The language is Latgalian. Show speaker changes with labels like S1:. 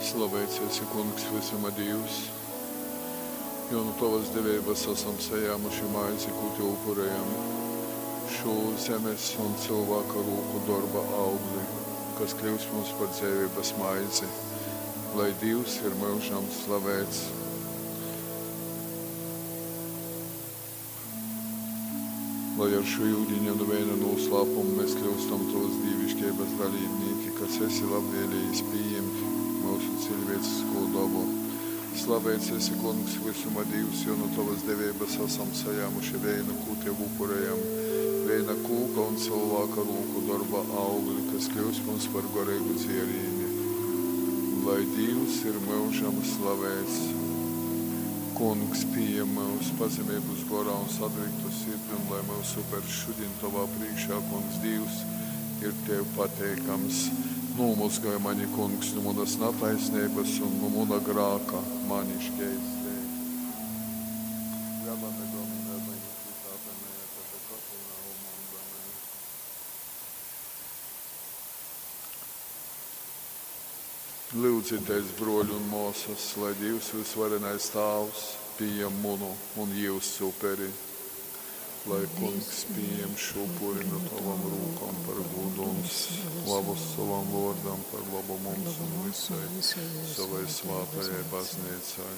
S1: Slaveits esi, Kungs, vysuma Dīvs, jo nu tovas deveibas asam sajāmuši maizi, kū tev upurejam, šū zemes un cylvāka rūku dorba augli, kas kļyus mums par dzeiveibas maizi. Lai Dīvs ir myužam slaveits! Lai ar šū yudiņa un veina nūslāpumu mēs kļyustam tovas dīviškeibas dalībnīki, kas esi labvēlējis pījimt myusu ciļvēciskū dobu. Slaveits esi, Kungs, vysuma Dīvs, jo nu tovas deveibas asam sajāmuši veinu, kū tev upurejam, veina kūka un cylvāka rūku dorba augli, kas kļyus mums par goreigu dzierīni. Lai Dīvs ir myužam slaveits! Kungs, pījem myus pazemeibus gorā un satriktu sirdi, un lai myusu upers šudiņ tovā prīškā, Kungs Dīvs, ir tev pateikams. Nūmozgoj mani, Kungs, nu munas nataisneibas un nu muna grāka mani škeistej. Lava-me Domine iniquitate mea, et peccata meum munda me. Lyudzitēs, bruoļi un muosys, lai Dīvs vysvarenais Tāvs pījem munu un jyusu uperi. Lai Kungs pījem šū upuri nu tovom rūkom par gūdu un slavu sovam vuordam, par lobu mums un vysai sovai svātajai bazneicai.